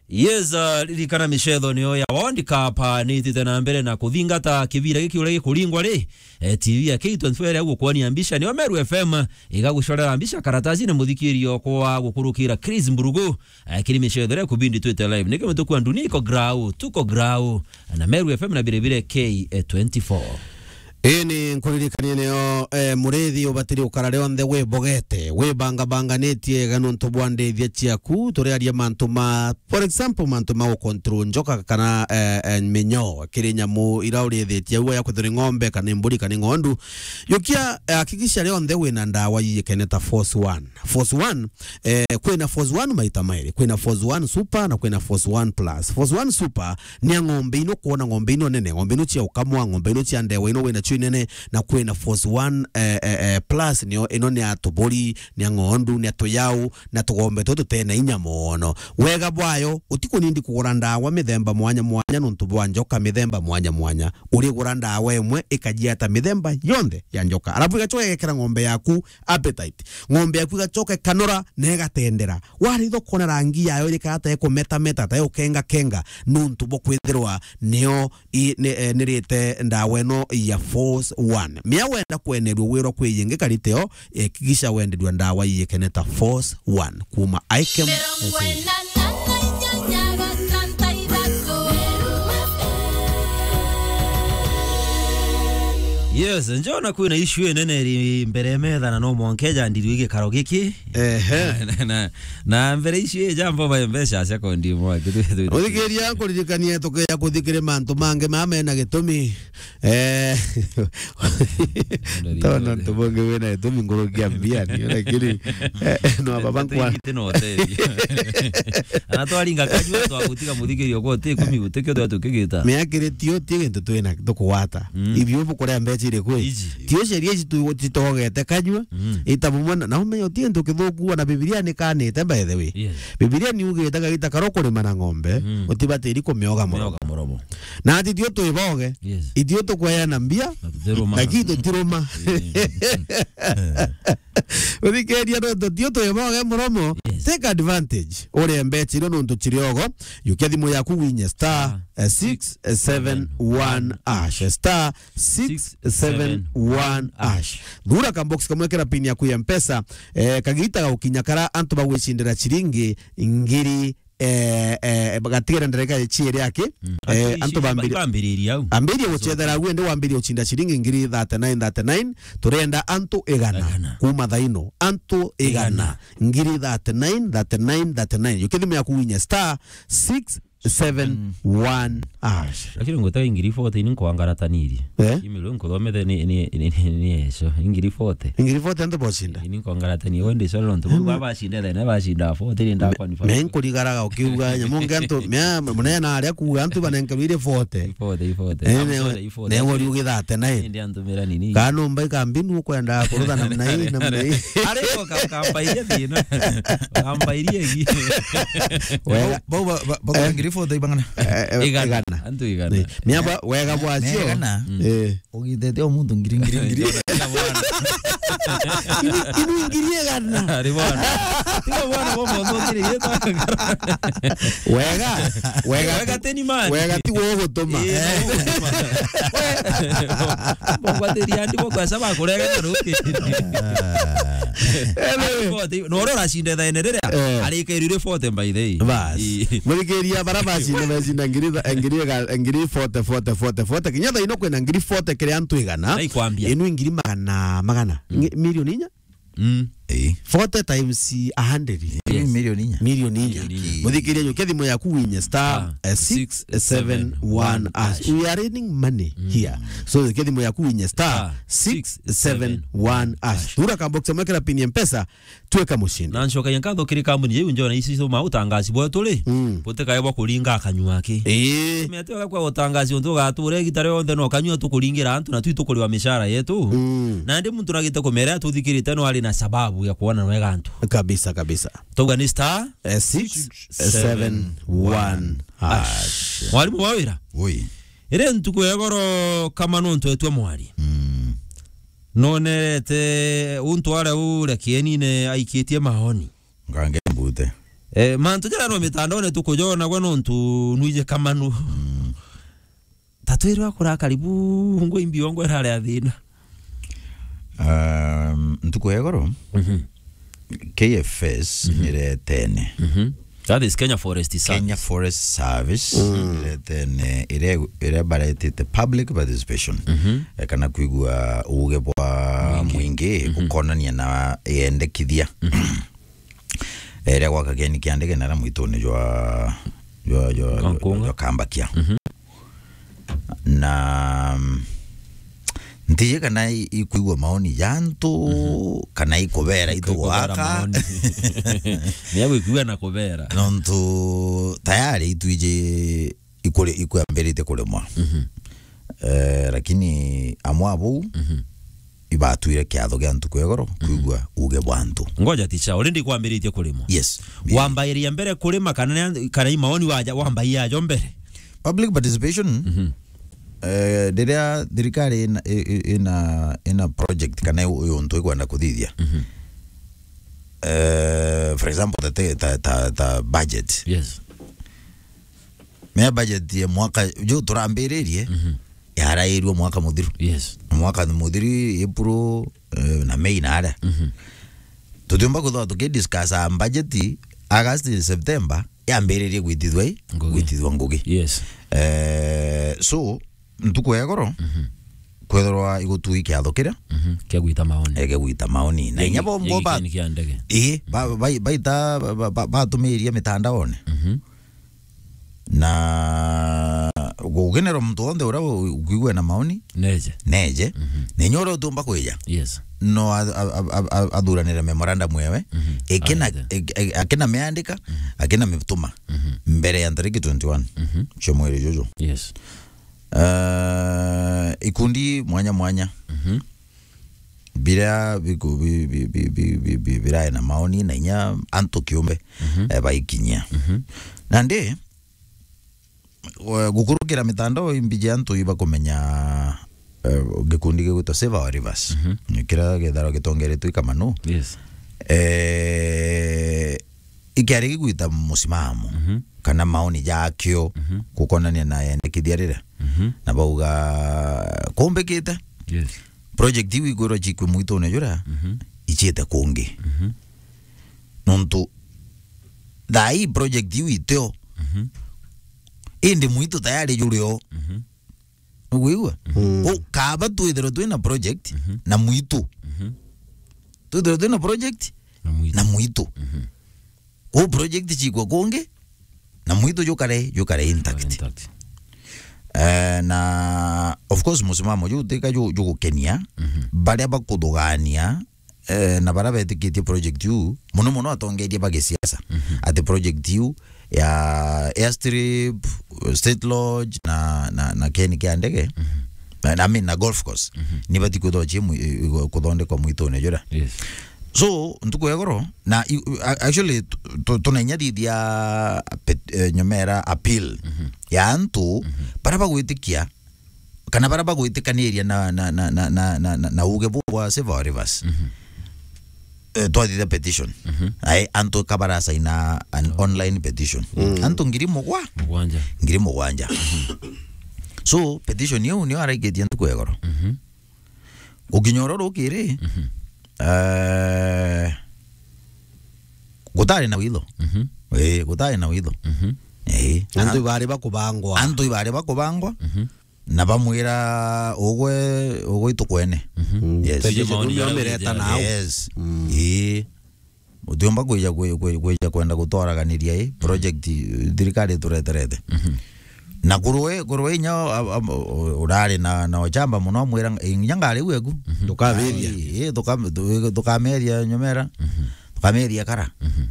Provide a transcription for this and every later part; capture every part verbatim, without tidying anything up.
Yes, uh, ririkana micetho niyo ya World Cup, uh, nitite na mbere na kuthingata kibira giki uria gikuringwa ri, eh, T V ya K twenty-four iria gukwania mbica niyo Meru F M igagucorera mbica karatasi na muthikirio kwa gukurukira Chris Mburugu, eh, kiri micetho iria kubindi twite live. Niki mutuku andu niko grau, tuko grau, na Meru F M na biribire K twenty-four. Ii ni nkuririkanie niyo, eh, murithi ubatiri ukara rionthe wibogete, wibangabanganitie ega nontu bwa ndithia ciaku. Turiaria mantu ma, for example, mantu ma gucontrol njoka kana, eh, eh, minyoo kiri nyamu ira urithitie au ya kwithirwa ni ng'ombe kana ni mburi kana ni ng'ondu. Yukia, eh, hakikisha rionthe wina ndawa yiyikene ta Force One. Force One, eh, kwina Force One maita mairi. Kwina Force One Super na kwina Force One Plus. Force One Super ni ya ng'ombe ino kwona, ng'ombe ino nene, ng'ombe ino cia ukamwa, ng'ombe ino cia ndewa ino wina cio inene, na kwina Force One, eh, eh, eh, Plus, nio ino ni ya tuburi, ni ya ng'ondu, ni ya tuyau, na tugombe tutu tutena inya mono. Wega bwayo, utikunindi kugura ndawa mithemba mwanya mwanya nontu bwa njoka mithemba mwanya mwanya. Urigura ndawa imwe ikajiata mithemba yonthe ya njoka. Alafu igacoka igekera ng'ombe yaku appetite. Ng'ombe yaku igacoka ikanora na igatendera. Waritha ukona rangi yayo irikara ta ikumetameta, ta ikukengakenga, nontu bwa kwithirwa niyo i-, ni-, eh, nirite ndawa ino ya Force One. Mia wenda kwenerua wirwa kwi yingi kari teo, hakikisha wenderua ndawa iyikene ta Force One kuma Ikem. Yes, njona kwina issue inene iri mbere ya metha na no mwanka ejandirue gikaro giki. Ehe. Na, na, na mbere issue ii jambo ba mbeca sekondi imwe, kitu, kitu. Uthikiria nkuririkanie tukeja kuthikire mantu mangi mama mena gitumi. Eh, tona ntu bungi wina gitumi nkurukia mbia, ni, lakini, eh, no baba nkwa. Iti no tethia. Ana twaringa kanyua twagutiga muthikirio kwa ti kumi gutikio twa tukigita. Miakiri tio ti gintu twina tukugwata. Mm. Ibio bukuria mbeca iri kwi? Iji. Tio sheria ici tu-, titogete kanyua. Mm. Ita bumwe na, na umenye uti gintu kithuku na Bibilia ni kanite, by the way. Yes. Bibilia ni ugite kagita karo kurima na ng'ombe, mm, utibatiri kumioga muromo. Mioga muromo. Na ati tio twiboge. Yes. Itio tukweana mbia. Na tutiruma. Na ki tutiruma. Eh. Uthikiria no tutio twiboge muromo. Yes. Take advantage. Uria mbeca irio nontu ciriogo. Yukia thimu yaku winye star, ah, eh, six seven one hash. Star six seven one hash. Thura ka box kamwe kira pin yaku ya Mpesa, eh, kagita ga ukinya kara antu bagwicindira ciringi ngiri, eh, eh, bagatigera ndereka ciiri aki. Mm. Eh, antu bambiri-, bambiriria au. Ambiririe gucethera au, indi wambiririe gucinda ciringi ngiri thirty-nine, thirty-nine. Turenda antu igana. Igana. Kuma thaino. Antu igana. Igana. Ngiri thirty-nine, thirty-nine, thirty-nine. Yukia thimu yaku winye star six seven one hash. Lakini ngwetaga ngiri forty ni nkwangaratanirie. Eh? Email nkuthomete ni, ni, ni, ni, ni eso. Ngiri forty. Ngiri forty antu bocinda. Ni nkwangaratanirie. Wende solo ntu. Mm. Baba bacinda thene, bacinda forty ni ndakwa ni forty. Me nkurigaraga ukiuga nyamu nge antu, mea, munene aria kuuga antu banenkerwe iri forty. Forty, forty. Eh, I'm ne-, sorry, forty. Ne wori ugi thirty-nine. Indi antumira nini? Kana umba ikambinu ukwenda kurutha namna hii, namna hii. Ari ko ka-, kambairie thina. Kambairie gi. Wega. Bau, bau ba, ba, ba, eh, ngiri forty ibangana? Eh, eh, igana. Igana. Antu igana. Eh, miamba wega bwacio. Igana. Mm. Eh. Ugitete o muntu ngiri, ngiri, ngiri. Inu, inu ngiri igana. Ari bwana. Tiga bwana, bo muntu ngiri yetu. Wega, wega. Wega ti-, teni mani. Wega ti gwo gutuma. Eh, no gutuma. Bogwatiria ndi bogwasa bakurega na ruki. Anyway. Forty, no ro racinde thaene riria, eh, arike rire forty by the way. Bas. Ii. Muthikiria bara bacinde, bacinde ngiri tha-, ngiri ga-, ngiri forty, forty, forty, forty. Kinya thaino kwina ngiri forty kiri antu igana. Naikwambia. Inu ngiri magana, magana. Mm. Ngi-, milioni inya? Mm. Eh. Forty times a hundred. Yes. Milioni inya. Milioni inya. Milioni inya. Muthikiria, yukia thimu yaku winye star, ah, eh, six seven one hash. We are raining money, mm, here. So, yukia thimu yaku winye star, ah, six seven one hash. Thura ka box mwekera pin ya Mpesa, tweka mushindi. Na ncokagia nkatho kiri kambuni yeu njona ici cuma utangaci bwetu ri, mm, butikae bwa kuringa akanyua aki. Ii. Mete kwa utangaci untu ugatura igita rionthe no kanyua tukuringira antu na twi tukuriwa mishara yetu. Mm. Na ndi muntu nagite kumera tuthikirite no ari na sababu ya kuona nwega antu. Kabisa, kabisa. Tauga ni star, eh, six seven one hash. Mwalimu wa wira. Ui. Iri ntuku ya goro kama nontu etwe mwari. Mm. Nonerete untu aria uria kienine aikitie maoni. Ngange mbute. Eh, mantu jaria no mitandaone tukujona gwe nontu nwije kamanu. Mm. Tatwirwa kura karibu ngwe imbi ongwe rare athina. Um, ntuku ya igoro, Mhm. K F S Mhm. niretene. Mhm. That is Kenya Forest Service. Kenya Forest Service Mm. niretene ire, ire baretite public participation. Mhm. Eh, kana kwigua uge bwa Mwingi. Mwingi Mhm. ukonania na yendekithia. Mhm. Ere gwa kageni kia ndege nara mwituni jwa, jwa, jwa, jwa, Kankunga. jwa Kambakia. Mhm. Na, mm, ntiji kana i-, ikwigua maoni ja antu, Mhm. kana ikubera itu Ikubera gwaka. maoni. Ni ya gwikua na kubera. Nontu tayari itwiji ikuri-, ikwambirite kurimwa. Mhm. Eh, lakini amwe abou Mhm. ibatwire kiatho gia ntuku ya igoro Mhm. kwigua uge bwa antu. Ngoja ticha, already kwambiritie kurimwa. Yes. Wambairia mbere kurima kana ni, kana i maoni waja, wambairia ajo mbere? Public participation, Mhm. eh, riria thirikari ina, i-, i-, ina, ina project kana yu-, yu untu ikwenda kuthithia. Mhm. Eh, for example, ta, ta, ta, ta budget. Yes. Mea budget ya mwaka ju turambiririe, Mhm. yarairwe mwaka muthiru. Yes. Mwaka muthiru, April, eh, na May na aria. Mhm. Tutiumba kwithirwa tukidiscuss budget August, September, yambiririe gwitithwa i? Ngugi. Gwitithwa ngugi. Yes. Eh, so, ntuku ya igoro, Mhm. kwethirwa igutui kiatho kiria? Mhm. Kia gwita maoni. Ege gwita maoni. Na Gia inya gi-, bo, gia bo ba-, gikeni kia ndege. Ii, ba-, ba-, baita, ba-, ba-, ba-, batumiria mitandaone. Mhm. Na gukinirwa muntu wonthe uria u-, ukwigua na maoni, Neje. neje. Mhm. Na inya uria utumba kwija, Yes. no a-, a-, a-, a-, a-, athuranire memorandum ewe, Mhm. ikina, Aende. ik-, ik-, akina miandika, Mhm. akina mituma, Mhm. mbere ya ntariki twenty-one Mhm. cia mweri juju. Yes. Eh, ikundi mwanya mwanya. Mhm. Biria biku-, bi-, bi-, birae na maoni na inya antu kiumbe, Mhm. eh, baikinyia. Mhm. Nandi, we-, gukurukira mitandao imbiji antu ibakumenya, eh, gikundi gigwitwa Save Our Rivers. Mhm. Ni kiria githaro gitongeretwe i Kamanu. Yes. Eh, ikiari gigwita musimamo Mhm. kana maoni jakio Mhm. gukonania na yendekithia riria. Mhm. Na bauga kumbikite Yes. project iu ikwirwa cikwe mwitune juria Mhm. iciite kungi. Mhm. Nontu thaa ii project iu itio. Mhm. Indi mwitu tayari jurio. Mhm. Ugwigua? Mhm. Ko kaba twithirwe twina project Mhm. na mwitu. Mhm. Twithirwe twina project Na mwitu. na mwitu. Mhm. Ko project cikwa kungi, na mwitu jukare, jukare intact. Intact. Eh, na of course, musimamo juu tika ju-, jugukenia, Mhm. baria bakuthugania, eh, na baria betikitie project iu, muno muno atongeria ba gisiasa, Mhm. ati project iu ya airstrip, state lodge, na, na, na keni kia ndege, Mhm. na, I mean, na golf course, Mhm. ni bati kwithwa cie mwi-, i-, i-, kuthondekwa mwitune juria. Yes. So, ntuku ya igoro, na i-, a-, actually, tu-, tu-, tunainya thithia pet-, eh, nyomera appeal Mhm. ya antu Mhm. baria bagwitikia, kana baria bagwitikaniria na, na, na uge buu bwa Save Our Rivers. Mhm. Eh, twathithia petition. Mhm. Ai, antu ka barasaina an online petition. Mm. Antu ngiri mugwa? Mugwanja. Ngiri mugwanja. So, petition iu nio araikitie ntuku ya igoro. Mhm. Gukinya oro rukiri, Mhm. eh, gutari na witho. Mhm. Eh, gutari na witho. Mhm. Eh, Antu na ibari bakubangwa. Antu ibari bakubangwa. Mhm. Na bamwira, "Ugwe, ugwe itukwene." Mhm. Yes. Tiji maoni nio ya mireta wija. Nao. Yes. Mm. Ii. Utiumba kwija kwi-, kwi-, kwija kwenda gutwaraganiria i project, eh, thirikari itureterete. Mhm. Na kurwe, kurwe inya, a-, a-, u-, urari na, na uchamba muno, amwira, "Inya ngari gweku." Mhm. Ndukameria. Ai, ii, nduka-, ndu-, ndukameria nyomera. Mhm. Ndukameria kara. Mhm.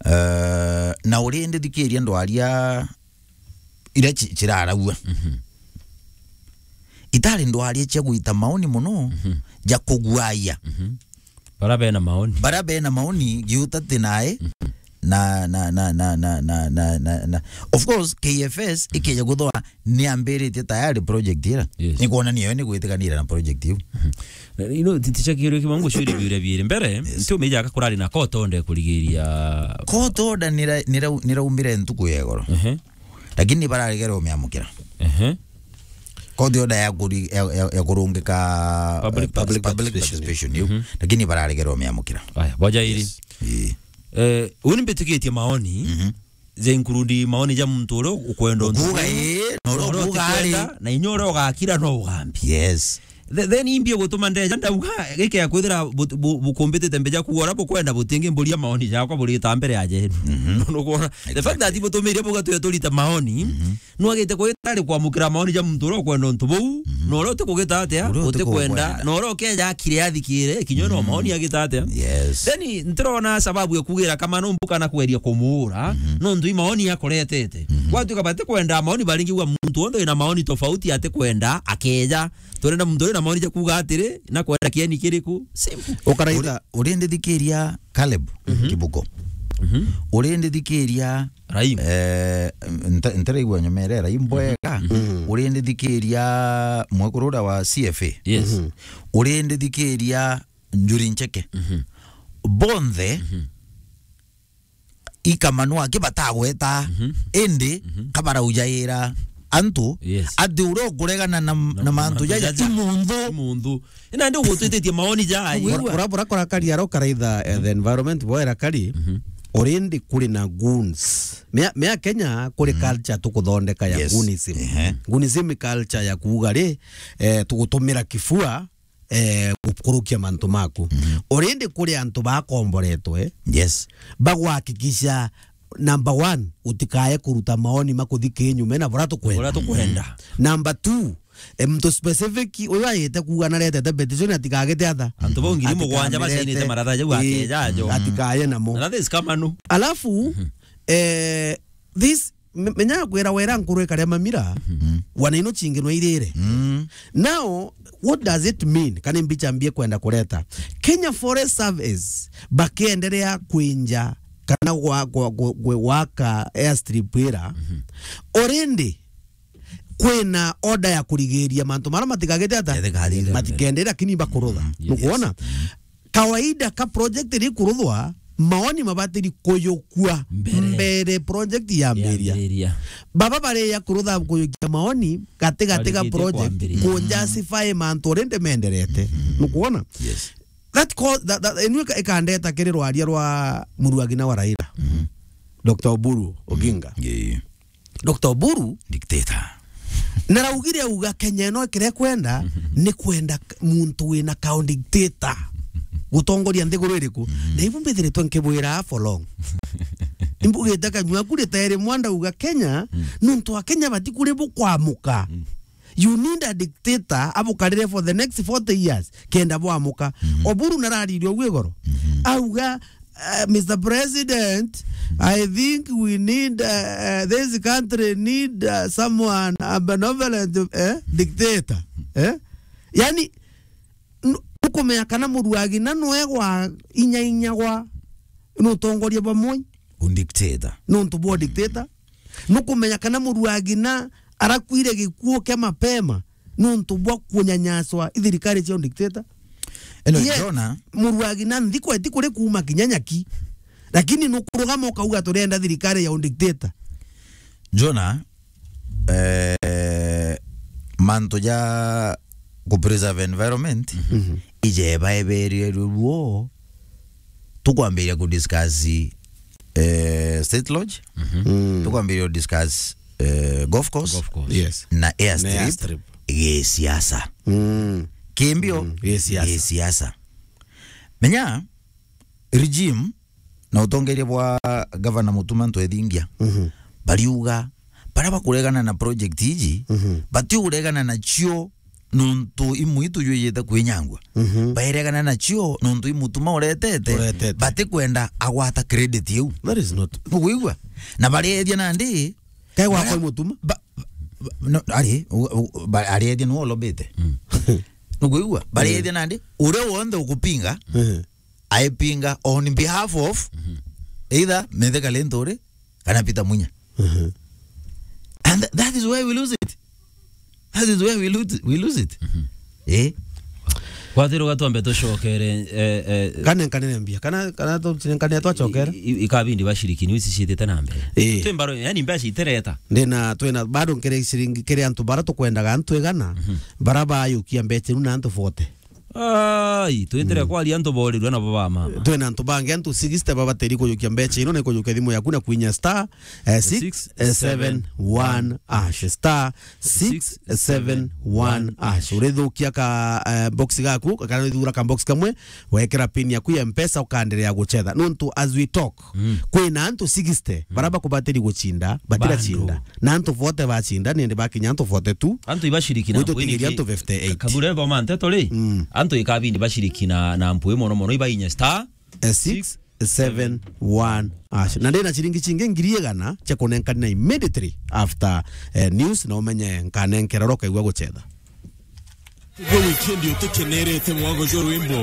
Eh, na urindi thikiria ndwaria iria ci-, ciraragua. Mhm. Itari ndwaria cia gwita maoni muno, Mhm. ja kuguaia. Mhm. Bara bena maoni. Bara bena maoni, giuta ti nae, Mhm. Na, na, na, na, na, na, na, na, na. Of course, K F S ikeja guthwa ni ambiritie tayari project ira. Yes. Ni kuonania yo ni gwitikanira na project iu. You know, titicha kiuria kimwe ngucuria biuria biiri. Mbere, yes, nti umeja aka kurari na court order kurigiria. Court order nira-, nira-, niraumire ntuku ya igoro. Ehe. Lakini ni bararegere umiamukira. Ehe. Court order ya kuri-, ya, ya, ya kurungika, public, eh, public participation. Public participation iu. Mhm. Lakini ni bararegere umiamukira. Aya, boja iri. Yes. Ii. Eh, uni mbitikitie maoni. Mhm. Ja include maoni ja muntu uria ukwenda untu. Kuuga uu, ii, na uria ukwenda, na inya uria ugakira no ugambia. Yes. The-, then imbi gutuma ndeja ndauga, giki ya kwithira bu-, bu-, bukumbitite mbeja kuuga uria bukwenda, butingi mburia maoni jakwa burita mbere ya jenu. Mhm. Nukwona? The fact that, exactly, butumire buga tuya turita maoni, mhm, nwagite kwita ari kwamukira maoni ja muntu uria ukwenda untu buu, mhm, na uria utikugita atia, uria utikwenda, utikwenda, na uria ukeja akire athikire, kinya no, mhm, maoni agita atia. Yes. Then ntirona sababu ya kugira kama no mbuka na kweria kumuura, mhm, nontu i maoni akuretete. Mhm. Gwatuika batikwenda maoni baringi, uga muntu wonthe wina maoni tofauti atikwenda, akeja. Turenda muntu uri na maoni ja kuuga atiri, na kwenda kieni kiriku? Simple. Ukaraitha. Uri-, urindithikiria Caleb, mhm, Kibuko. Mhm. Urindithikiria Raim. Eh, nta-, ntiraigua nyomere Raim bwega. Mhm. Urindithikiria mwekuru uria wa C F A. Yes. Mhm. Urindithikiria Njuri Ncheke. Mhm. Bonthe, mhm, ikamanu aki batagweta, mhm, indi, mhm, kabaraujaira antu, yes, ati uria ukuregana na, na, na mantu jaja, jaja, ti munthu. Ti munthu. Ina ndi ugutwititie maoni ja ai. Wigua? Bura, bura, bura kora kari aro karaitha, eh, the environment bwera kari, mhm, already kuri na goons. Mea, mea Kenya kuri, mhm, culture tukuthondeka ya, yes, goonism. Ehe. Goonism culture ya kuuga ri, eh, tugutumira kifua, eh, gukurukia mantu maku. Mhm. Already kuri antu bakomboretwe, yes, bagwakikisha, number one, utikae kuruta maoni makuthi kinyume na bura tukwenda. Bura tukwenda. Mhm. Number two, eh, muntu specific uyu ayite kuuga naretete petition atikagite atha. Antu bau ngiri mugwanja bacainite maratha jau akeja ajo. Atikaye namo. Na that is kamanu. Alafu, mhm, eh, this Me-, menya kwira wera nkuru ikaria mamira, mhm, wana ino chingi no irire. Mm. Now, what does it mean? Kana mbicha mbie kwenda kureta. Kenya Forest Service bakiendelea kwinja kana gwa-, gwa-, gwa-, gwa-, gwaka airstrip ira. Mhm. Already, kwina order ya kurigiria mantu mara matigagite ata? Matikagite. Matikende, lakini bakurutha. Mm, yes. Nukuona? Mm. Kawaida ka project iri kuruthwa, maoni mabatiri kuyukua mbere, mbere project yambiria. Yambiria. Baba bari ya kurutha kuyukia maoni gati gati ga project, kwambiriria, ku justify mantu rindi menderete. Mhm. Nukuona? Yes. That cause, that, that, inu ika-, ikandeta kiri rwaria rwa muruagina wa Raila. Mhm. Doctor Oburu Oginga. Yeah. Doctor Oburu. Dictator. Naraugire auga Kenya ino ikire kwenda, ni kwenda k-, muntu wina kao dictator gutongoria nthiguru iriku. Mm. Na ibu mbithiritwe nkibwira for long. Imbugite kanyua kuri tayari mwanda uga Kenya, mm, nuntu a Kenya batikuri bukwamuka. Mm. You need a dictator abukarire for the next forty years kenda bwamuka. Mhm. Oburu nararirie ugu igoro. Mhm. Auga, uh, Mister President, I think we need, uh, uh, this country need, uh, someone, a benevolent, eh, dictator. Eh? Yani, n-, ukumenya kana muruagina nwe gwa inya inya gwa nutongoria bamwe. Undictator. Nuntu bwa dictator. Nukumenya kana muruagina arakuire gikuo kia mapema nuntu bwa kunyanyaswa i thirikari cia dictator. Eno, yes, Jona. Muruagina nthiko eti kuri kuuma kinya nyaki. Lakini nukurugama ukauga turenda thirikari ya dictator. Jona, eh, mantu ja ku preserve environment, mhm, ijeba eberie ruo, tukwambiria ku discuss, eh, State Lodge, mhm, mm, tukwambiria ku discuss, eh, golf course, golf course, yes, na airstrip, na airstrip, gisiasa. Mm. Kimbio, mm, gisiasa. Gisiasa. Menya, regime na utongeria bwa Gavana Mutuma Ntwethingia, mhm, bariuga, baria bakuregana na project iji, mhm, batiuregana nacio nuntu imwe itujwijite kwinyangwa. Mhm. Bairegana nacio nuntu i Mutuma uretete, uretete, batikwenda agwata credit iu. That is not. Nukwigua? Na bareethia nandi, kae gwakwa baria i Mutuma? Ba-, ba-, no, ari, u-, u-, ba-, areethia niwe ulobite. Mm. Nukwigua? Bareethia, mm, nandi, uria wonthe ukupinga, mhm, aipinga on behalf of, mhm, Either Mithika Linturi kana Peter Munya. Mhm. And th-, that is where we lose it. That is where we lose, we lose it. Eh? Kwathirwa twambe tucokere, eh, eh, Kana nkanene mbia. Kana, kana tu-, nkanene twacokera. I-, i-, ikabindi bashiriki ni wicicitite na mbere. Eh. Twi mbaro, yani mbeca itereta. Ndina, twina, bado nkere ciringi, kere antu bara tukwendaga antu igana, Mhm. bara bayukia mbeca iu na antu forty. Ai, twitire Mm. kwaria antu borirwe nabo ba mama. Twina antu bangi antu sixty babateri kujukia mbeca ino na kujukia thimu yaku na kwinya star, eh, six seven one hash, star six seven one hash. Urithukia ka, eh, box gaku, kana urithura ka box kamwe, wekera pin yaku ya Mpesa ukaendelea guchetha. Nontu as we talk, Mm. kwina antu sixty, Mm. bara bakubateri guchinda, batira Bado. chinda. Na antu forty bachinda, nindi bakinya antu forty-two. Antu ibashiriki na Gwitu mpwini tigeria ki-, antu fifty-eight. Kagure bo manteto ri? Mm. Antu ikabindi bashiriki na, na mpwi mono mono ibainya star Eh, six seven one hash. Na ndina ciringi cingi ngiri igana cia kunenkana immediately after, eh, news, na umenye nkanenkera oro kaigua guchetha. Gwe wikendi utikenerete mwago jwa rwimbo.